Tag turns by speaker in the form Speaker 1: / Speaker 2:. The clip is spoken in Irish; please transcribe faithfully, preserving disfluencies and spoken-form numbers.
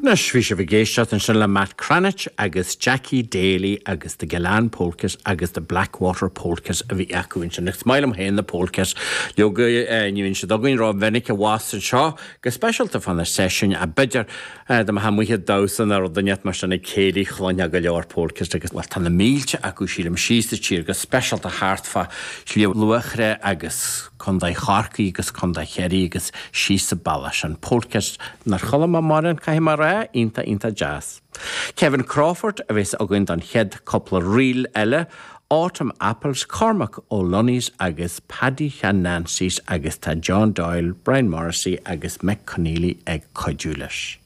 Speaker 1: Anois bhí sibh ag éisteacht ansin le Matt Cranitch agus Jackie Daly agus the Gillane Polkas agus the Blackwater Polkas a bhí acu ansin. Is maith liom féin na polkas leoga ní bhíonn siad againn ró-mhinic abhus anseo go speisialta fá na seisiúin a b'fhéidir dá mbeifeá amuigh ag damhsa nó rud inteacht mar sin ag céilí chluinfeá go leor polkas agus well tá na mílte acu sílim síos sa tír go speisialta thart fá Shliabh Luachra agus Contae Chorcaí agus Contae Chiarraí agus síos sa bealach sin polkas nár chuala mé mórán caithfidh mé a rá iontach iontach deas. Kevin Crawford a bheas againn don chéad cúpla ríl eile, Autumn Apples, Cormac O'Lunnies agus Paddy Sheáin Nancy's agus tá John Doyle, Brian Morrissey agus Mick Conneely ag cuidiú leis.